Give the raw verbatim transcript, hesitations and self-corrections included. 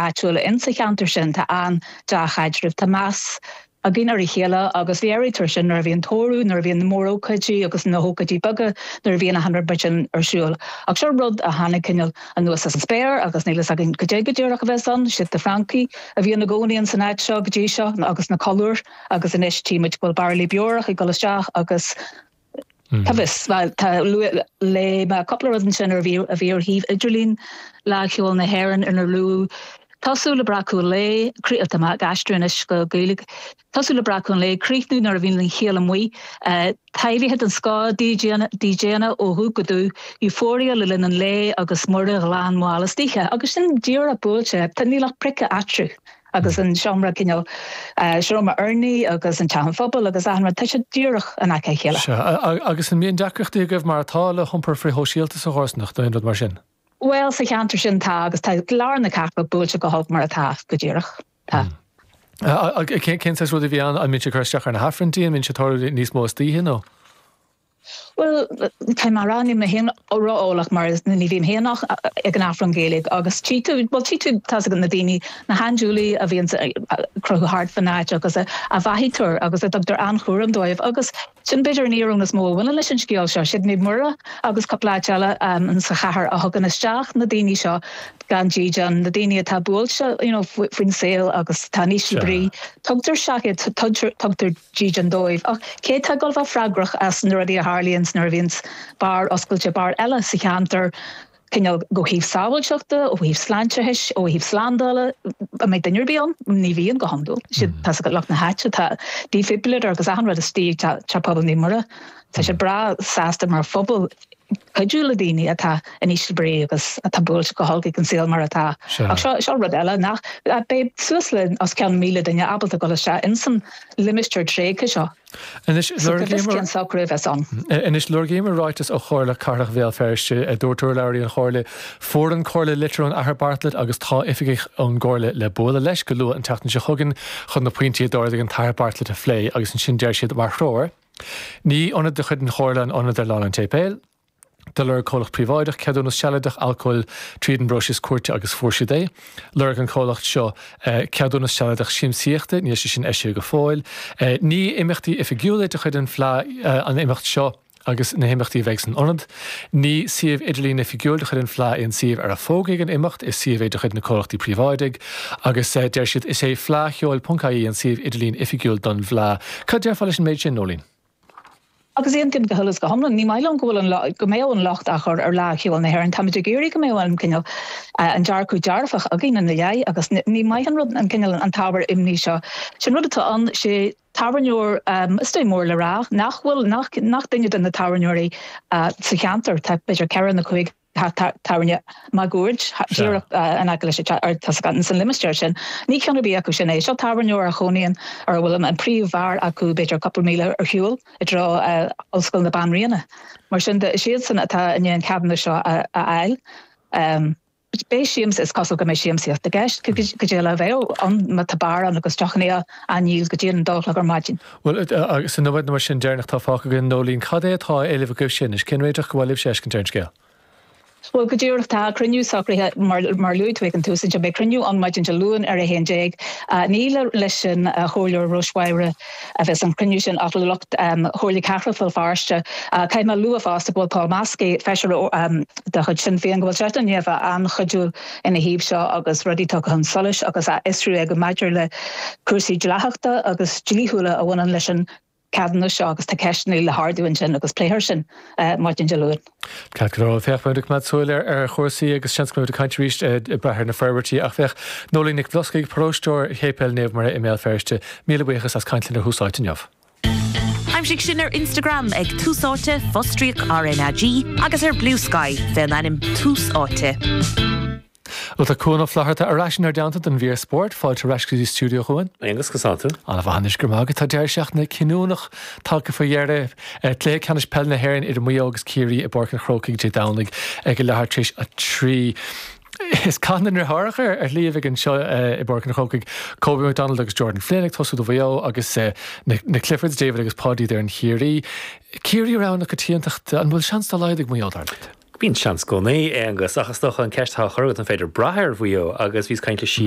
áitiúla in sa cheantar sin tá an-dea-chaidreamh tá meas againn ar a chéile agus léirítear sin nuair a bhíonn tórramh nuair a bhíonn na mórócáidí agus na hócáidí beaga nuair a bhíonn achan rud sin ar siúl. Ach seo rud a tháinig cineál anuas as an spéir agus níl a fhios againn cad é go díreach a bheas ann, siad na Francaigh a bhí ina gcónaí in san áit seo go dtí seo agus na colúir agus anois tímid go bhfuil bairillí beorach ag dul isteach agus Tá bhfios tá léigh mé cúpla rud ansin ar bhí a bhí ar shuíomh idirlín Fhleadh Cheoil na hÉireann inar luadh tosú le breacadh lae tá mé ag aistriú anois go Gaeilge tosú le breacadh an lae críochnú nuair a bhíonn an chiall amuigh taibhithe den scoth DJanna ó dhubh go dubh euphoria le linn an lae agus Muire ghlan mhall istoíche agus sin díreach buailte tá níl ach priocadh eatarthu agus an seomra cineál seomra urnaí agus an teach an phobail agus achan rud tá sé díreach in aice a chéile. Sea, agus an mbíonn deacrachtaí agaibh mar atá le hiompar frithshóisialta sa chomharsanacht nó aon rud mar sin? Bhuel sa cheantar sin tá agus tá lár na cathrach buailte go holc mar atá go díreach. Tá. Cén saghas rud a bhí ann? An mbíonn sé ag cur isteach ar na hAifrinntí? An mbíonn sé ag tarlú níos mó istoíche nó? Bhuel, tá mé ag rá níl mé féin ró-eolach mar ní bhím féin ach ag an Aifreann Gaeilge agus tchí tú, bhuel tchí tú tá's agat na daoine, na handúiligh a bhíonn ag crochadh thart fan áit agus a bheathaítear agus a dtugtar an-chúram dóibh agus sin b'fhéidir an íoróin is mó a bhaineann leis an scéal seo. Siad Naomh Muire agus cúpla áit eile sa chathair a thugann isteach na daoine seo gan dídean, na daoine atá buailte you know faoin saol agus atá in ísle brí. Tugtar isteach iad, tugtar dídean dóibh. Ach cé atá ag dul bheith freagrach as na rudaí a tharlaíonns nuair a bhíonns beár oscailte, beár eile sa cheantar, cineál ó thaobh sábháilteachta, ó thaobh sláinteachais, ó thaobh slándála, an mbeidh duine ar bith ann? Ní bhíonn go hiondúil. Siad, tá's agat, lucht na háite, tá defibrillator agus achan rud istigh ag Teach Pobail Naomh Muire. Tá siad breá sásta mar phobal cuidiú le daoine atá in ísle brí agus atá buailte go holc ag an saol mar atá. Ach seo, seo rud eile nach, beidh suas le os cionn míle duine ábalta dul isteach insan limistéar tréigthe seo. Anois, lorgaíomar. Socrú a bheas ann. Anois, lorgaíomar ráiteas ó Chomhairle Cathrach Bhéal Feirste. Dúirt urlabhraí an Chomhairle, Fuair an Chomhairle litir ón Athair Bartlett agus tá oifigigh ón gComhairle le bualadh leis go luath an tseachtain seo chugainn chun na pointí a d'ardaigh an tAthair Bartlett a phlé agus ansin deir siad mar threoir, Ní ionad de chuid an Chomhairle an ionad ar Lána an tSéipéil. Do lorg comhlacht príobháideach ceadúnas sealadach alcóil tríd an bpróiseas cúirte agus fuair siad é. Lorg an comhlacht seo ceadúnas sealadach siamsaíochta, níl sé sin eisithe go fóill. Ní imeachtaí oifigiúla de chuid an Fleadh an imeacht seo agus na himeachtaí a bheidh san ionad. Ní suíomh idirlín oifigiúil de chuid an Fleadh é an suíomh ar a fógraíodh an imeacht, is suíomh é de chuid na comhlachtaí príobháidigh agus deir siad is é fleadhcheoil ponc ie an suíomh idirlín oifigiúil don bhFleadh. Cad déarfá leis an méid sin, Nóileen? Agus aontaím go huile is go hiomlán, ní maith liom go bhfuil an, go mbeadh an locht á chur ar Fhleadh Cheoil na hÉireann. Táimid ag iarraidh go mbeadh an cineál, an dearcadh dearfach againn ina leith agus ní maith an rud an cineál, an t-ábhar imní seo. Sin rud atá ann, sé tábhairneoir, is dóigh mór le rá, nach bhfuil, nach, nach duine de na tábhairneoirí sa cheantar, tá b'fhéidir ceithre nó cúig teach tábhairne máguaird díreach in aice leis an teach san limistéar sin. Ní ceann ar bith acu sin é. Seo tábhairneoir a chónaíonn ar a bhfuil an príomhbheár acu b'fhéidir cúpla míle ar shiúl i dtreo Ollscoil na Banríona. Mar sin de, is iadsan atá i ndiaidh an ceadúnas seo a fháil. Beidh siamsa, is cosúil go mbeidh siamsaíocht i gceist, cad é eile a bheadh ann má tá beár ann agus deochanna á ndíol go dtí an dó a chlog ar maidin. Bhuel, agus sa nóiméad nó mar sin deireanach atá fágtha againn, Nóileen, cad é atá á éileamh agaibhse anois? Cén réiteach gur mhaith libhse a fheiscint ar an scéal? Bhuel, go díreach, tá cruinniú socraithe, mar mar luaigh tú ag an tús ansin, beidh cruinniú ann maidin Dé Luain ar a haon déag. Ní leis an Chomhairleoir Róismháire a bheas an cruinniú sin ach le lucht Chomhairle Cathrach Bhéal Feirste. Caithfidh mé a lua fosta go bhfuil Paul Maskey, feisire de chuid Sinn Féin, go bhfuil seisean i ndiaidh a bheith an-chuidiúil ina thaobh seo agus rudaí tugtha chun solais agus á fhiosrú aige maidir le cúrsaí dleathachta agus dlíthiúla a bhaineann leis an ceadúnas seo agus tá ceisteanna le hardú ansin agus pléifear sin maidin Dé Luain. Ceart go leor, féach, beimid ag coimeád súil ar chúrsaí agus seans go mbeimid ag caint arís ag brath ar na forbairtí ach féach, Nóileen Nic Bhloscaigh, paróisteoir Shéipéal Naomh Muire i mBéal Feirste, míle buíochas as caint linn ar Thús Áite inniu. Aimsigh sinn ar Instagram ag Tús Áite, fostríoc RnaG, agus ar Bluesky fén ainm Tús Áite. Bhuel, tá Cuan Ó Flatharta ar ais inár dteannta don mhír spóirt. Fáilte ar ais go dtí stiúideo, a Chuain. Aonghus, conas tá tú? An-mhaith anois, go raibh maith agat. Tá deireadh seachtaine cinniúnach tagtha faoi dheireadh. Cluiche ceannais peile na hÉireann idir Maigh Eo agus Ciarraí i bPáirc an Chrócaigh Dé Domhnaigh ag a leathuair tar éis a trí. Is cath na ndeartháireacha ar shlí a bheidh anseo i bPáirc an Chrócaigh. Kobe McDonald agus Jordan Flynn ag tosú do Mhaigh Eo agus na Cliffords, David agus Paudie d'fhoireann Chiarraí. Ciarraí rogha na coitiantachta, an bhfuil seans dá laghad ag Maigh Eo, dar leat? Bíonn seans i gcónaí, Aonghus, ach is dócha an ceist atá á chur agat an féidir brath ar Mhaigh Eo agus bhíos ag caint le Síle